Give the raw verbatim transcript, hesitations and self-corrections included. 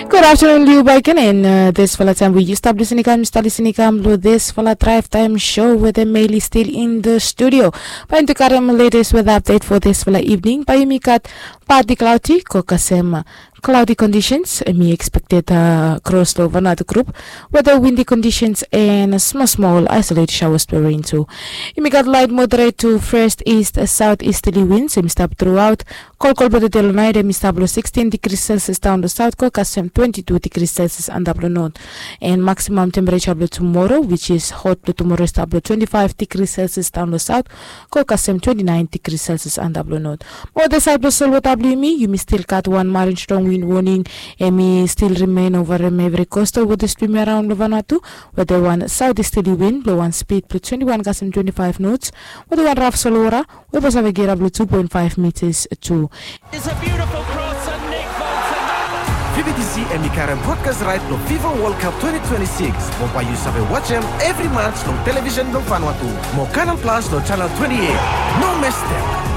Good afternoon, Liu Baiken, and uh, this fala time we used up listening come, start listening come to this fala drive time show with the Meili still in the studio. Bain tu karem latest weather update for this fala evening. Bain yumi gat partly cloudy, ko kasem cloudy conditions, mi expected uh, cross lo Vanuatu group, with the windy conditions and small small isolated showers to rain too. Yumi gat light moderate to first east southeasterly winds, yumi stop throughout Kolkol blo tude lo nait hemi stap lo sixteen degrees Celsius daon lo saut ko kasem twenty-two degrees Celsius antap lo not. And maximum temperature blo tomorrow, which is hot blo tomorrow, stap lo twenty-five degrees Celsius daon lo saut ko kasem twenty-nine degrees Celsius antap lo not. Mo the side blo solwota blo yumi, yumi still gat wan marine strong wind warning. Hemi still remain over hemi every coastal water stream around lo Vanuatu, with the one southeasterly wind blo one speed blo twenty-one kasem twenty-five knots, with the one rough solwota we blo save get up lo two point five meters tu. It's a beautiful cross and Nick Bolton. V B T C hemi karem broadcast right lo FIFA World Cup twenty twenty-six. Mo bae yu save wajem evri match lo television blo Vanuatu. Mo Canal Plus lo channel twenty-eight. No mes dem.